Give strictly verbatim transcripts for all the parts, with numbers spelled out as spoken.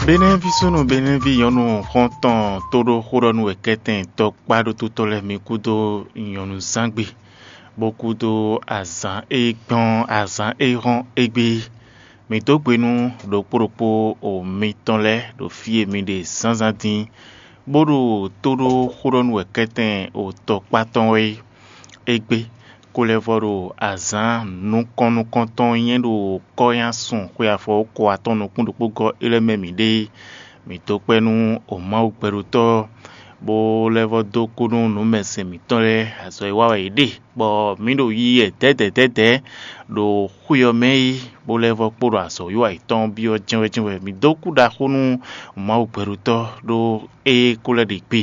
Benɛ́ví súnnu Benɛ́ví nyɔ̌nu xɔ́ntɔn tóɖó xóɖɔnú wɛ kɛ́tɛn tɔkpá ɖótútɔ́ lɛ́ɛ mi kúdó nyɔ̌nuzángbe, bó kúdó azǎn e gbɔn azǎn e hɔ́n égbé. Mǐ dó gbe nú ɖokpó ɖokpó o mitɔn lɛ́ɛ ɖo fí e mi ɖe zǎnzǎn dín, bó ɖo tóɖó xóɖɔnú wɛ kɛ́tɛn o tɔkpá tɔn wɛ é. Égbé, kó lɛ́ vɔ ɖo azǎn nukɔn nukɔntɔn nyɛ ɖo kɔ́nyásun xwe afɔ ko atɔn nukún ɖokpó gɔ́ é lɛ́ɛ mɛ mǐ ɖe é. Mǐ dó kpɛ́ nú o Mawu gbɛɖotɔ́, bó lɛ́ vɔ dó kú nú nǔmɛsɛn mǐtɔn lɛ́ɛ azɔ̌ e wa wɛ yě ɖe, bɔ mǐ ɖo yiyi wɛ dɛ̌dɛ̌dɛ̌dɛ̌ ɖo xwé ɔ́ mɛ é, bó lɛ́ vɔ kpo ɖo azɔ̌ wiwa yětɔn byɔ́ jɛ́nwɛ́jɛ́nwɛ. Mǐ dó kú ɖaxó nú Mawu gbɛɖotɔ́ ɖó é kó lɛ́ ɖe gbe,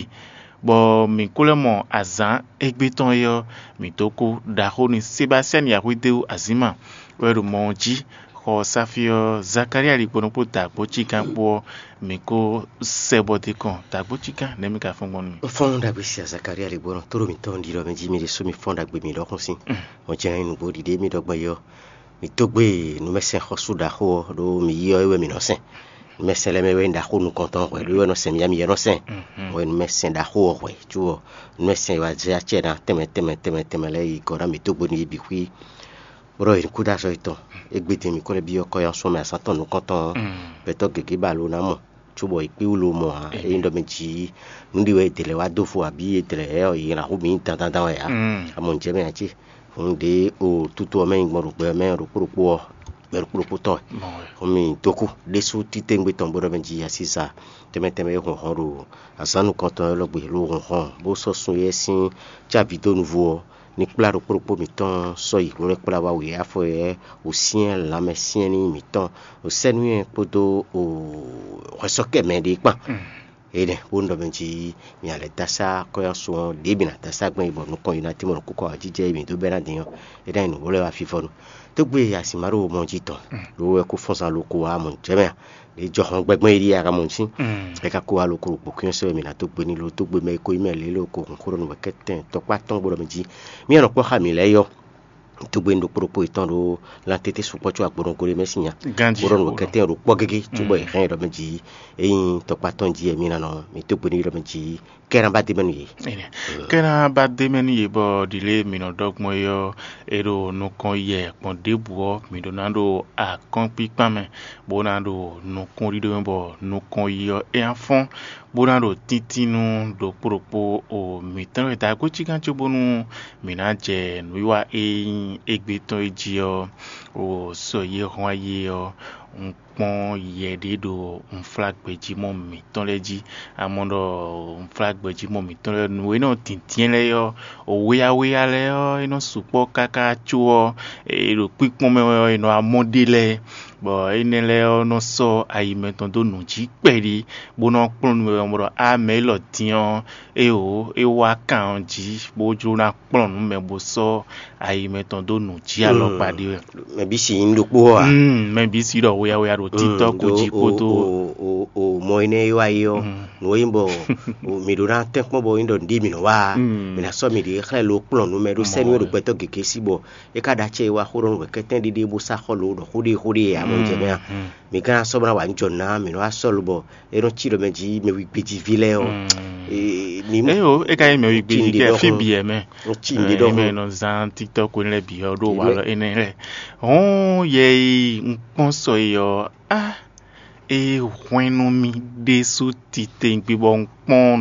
bɔ mǐ kó lɛ́ mɔ azǎn égbé tɔn é ɔ́, mǐ dó kú ɖaxó nú Sebasiyani Axwédéwu Azǐma wɛ ɖo mɔ ɔ́ jí. Xɔ Safi ɔ́, Zakalía ɖi kpo nukpó da agbo cígán kpó ɔ́, mǐ kó sɛ bɔ d'é kɔn da agbo cígán nɛ̌ mǐ ka fɔ́n gbɔn nú mì? Fɔ́n ɖagbe sia Zakalía ɖi gbɔn tó ɖo mǐtɔn ɖiɖɔ mɛ jí mi ɖésú mi fɔ́n ɖagbe mi ɖɔkun sín. Mo jɛ nyí nǔgbó ɖiɖe mi ɖɔ gbɔn yi ɔ́, mi dó gbe nǔmɛsɛn xɔ́sú ɖaxó ɔ́ ɖó mi yi ɔ́ é wɛ mi nɔ sɛn. Nǔmɛsɛn lɛ́ɛ mɛ wɛ nyí ɖaxó nukɔntɔn hwɛ ɖó é wɛ nɔ sɛn mi yá mi yɛ nɔ sɛn. Hwɛ nǔmɛsɛn ɖaxó ɔ́ hwɛ, có ɔ́, nǔmɛsɛn e wá zé acɛ ná tɛnmɛ tɛnmɛ tɛnmɛ tɛnmɛ lɛ́ɛ yi gɔ̌ ná mi dó gbe nú yě bǐ xwí. Bó ɖɔ yě ní kú dó azɔ̌ yětɔn. Égbé din mǐ ko lɛ́ byɔ́ kɔ́yɔ́sɔ́ mɛ azǎn tɔn nukɔntɔn ɔ́, gbɛtɔ́ gěgé ba lo ná mɔ, cóbɔ yě kpé wú lo mɔ ǎ. Ényí ɖɔ mɛ jǐ nǔ ɖi wɛ è dlɛ̌ wá dó fo abǐ è dlɛ̌ ɔ́, yě ná hu mǐ dandandan wɛ ǎ. A mɔ nǔ jɛ mɛ ǎ cé? Hǔn ɖě o tútú ɔ́ mɛ nyí gbɔn ɖo gbɛ ɔ́ mɛ ɖokpó ɖokpó ɔ́, gbɛ ɖokpó ɖokpó tɔn wɛ. Hǔn mì dó kú ɖésú títewungbe tɔn bó ɖɔ mɛ jí asísa tɛnmɛ tɛnmɛ e hun hɔn ɖo azǎn nukɔntɔn élɔ́ gbe ló hun hɔn, bó sɔ́ sun éyɛ́ sín cávi dó nuvo ɔ́, ní kplá ɖokpó ɖokpó mǐtɔn sɔ́ yi hwlɛ́kplá wá wě afɔ éyɛ́ wǒsyɛ́n lanmɛsyɛ́nní mǐtɔn, wǒsɛ́núnywɛ́ kpódó hwɛsɔ́kɛ mɛ ɖé kpán. Énɛ́ bó ɖɔ mɛ jí mi a lɛ́ dó asá kɔ́yɔ́sú ɔ́, ɖěe mi ná dó asá gbɛn yi bɔ nukɔn yi ná tímɔ nɔ kúkɔ ɔ́ jijɛ yi mǐ dó bɛ́ ná din ɔ́, é ná nyí nǔ bó lɛ́ wá fífɔ́ nu. Tógbe asi má ɖo mɔ jí tɔn, ɖó wɛ kó fɔ́n zán lóko wá mɔ jɛ́ mɛ a? Ɖě jɔ hɔn gbɛgbɛ́n yi ɖíe a ka mɔ jí. É ka kó wá lóko ɖo kpǒkúnyɔ sɛ́ wɛ mi ná dó gbe ní lo dó gbe mɛ e ko nyí mɛ lě lóko hun xó ɖɔ nǔ wɛ kɛ́tɛn tɔkpá tɔn gbɔdɔ mɛ jí. Mí a nɔ kpɔ́ xá mǐ lɛ́ɛ yɔ. Tógbe ɖokpó ɖokpó yětɔn ɖó lan tete sukpɔ́ có agbɔnɔgó ɖé mɛ sín nya. Ganjí bó ɖɔ nǔ wɛ kɛ́tɛn ɖo kpɔ́ gégé cóbɔ è hɛn ɖɔ mɛ jí. Ényí tɔkpá tɔn jí wɛ mí ná nɔ mǐ tógbe ní ɖɔ mɛ jí kɛ́ ná ba d'é mɛ nú yě. Kɛ́ ná ba d'é mɛ nú yě bɔ ɖi lě mǐ nɔ ɖɔ gbɔn é ɔ́, é ɖo nukɔn yɛ gbɔn ɖěbǔ ɔ́, mǐ ɖó ná ɖo akɔ́nkpíkpán mɛ, bó ná ɖo nukúnɖíɖó mɛ bɔ nukɔn yi ɔ́ é ná fɔ́n, bó ná ɖo tíntínnú ɖokpó ɖokpó o mǐtɔn e da gǒ cígán cóbónú mǐ ná jɛ nǔwiwa e nyí égbé tɔn é jí ɔ́, o sɔ yi e hɔn ayi é ɔ́, un kpɔ́n yɛ ɖé ɖo unflágbɛjímɔ mǐtɔn lɛ́ɛ jí. Amɔ ɖɔ unflágbɛjímɔ mǐtɔn lɛ́ɛ nǔ e nɔ dǐndín lɛ́ɛ ɔ́, wéyáwéyá lɛ́ɛ ɔ́, é nɔ sukpɔ́ káká có ɔ́, è ɖo kpíkpɔ́n mɛ wɛ ɔ́, è nɔ wá mɔ ɖe lɛ́ɛ, bɔ énɛ́ lɛ́ɛ ɔ́ nɔ sɔ́ ayi mɛtɔn dó nǔ jí kpɛɖí, bó nɔ kplɔ́n nú mɛ bɔ á mɛ élɔ́ din ɔ́, éeǒ, é wá kan ɔ́ jí, bó jló ná kplɔ́n nǔ mɛ bó sɔ́ ayi mɛtɔn dó nǔ jí alɔkpa ɖé wɛ. Mɛ bǐ si nyí ɖokpó ɔ́ a? Mm, mɛ bǐ si ɖɔ wéyáwéyá ɖo títɔ́ ko jí kpódó. O mɔ énɛ́ e wá yi ɔ́, nǔ e nyí bɔ mǐ ɖó ná tɛ́nkpɔ́n bɔ nyí ɖɔ nǔɖé mǐ nɔ wá a? Mǐ ná sɔ́ mǐɖée xlɛ́ lo kplɔ́n nú mɛ ɖó sɛ́nú e ɖo gbɛtɔ́ gěgé sí bɔ é ka ɖo acɛ e wá xó ɖɔ nú wɛ kɛ́tɛ́n ɖéɖé bó sá xɔ lo ɖɔ xó ɖé xó ɖé ǎ mɔ jɛ mɛ a? Mǐ ka ná sɔ́ bó ná wa nǔ jɔ nǔ ná mǐ nɔ wá sɔ́ lo bɔ é nɔ cí ɖɔ mɛ jí mɛ wígbéjí ví lɛ́ɛ ɔ́. Ní Eyo, é ka nyí mɛ wígbéjí kɛ fí bǐ ɛ mɛ. Cí nǔɖé ɖɔ mɛ nɔ zán TikTok ko lɛ́ɛ bǐ ɔ́ ɖó walɔ énɛ́ lɛ́ɛ. Hɔn yɛ yi un kpɔ́n sɔ yi ɔ́, á é hwɛ́n nú mì ɖésú titewungbe bɔ un kpɔ́n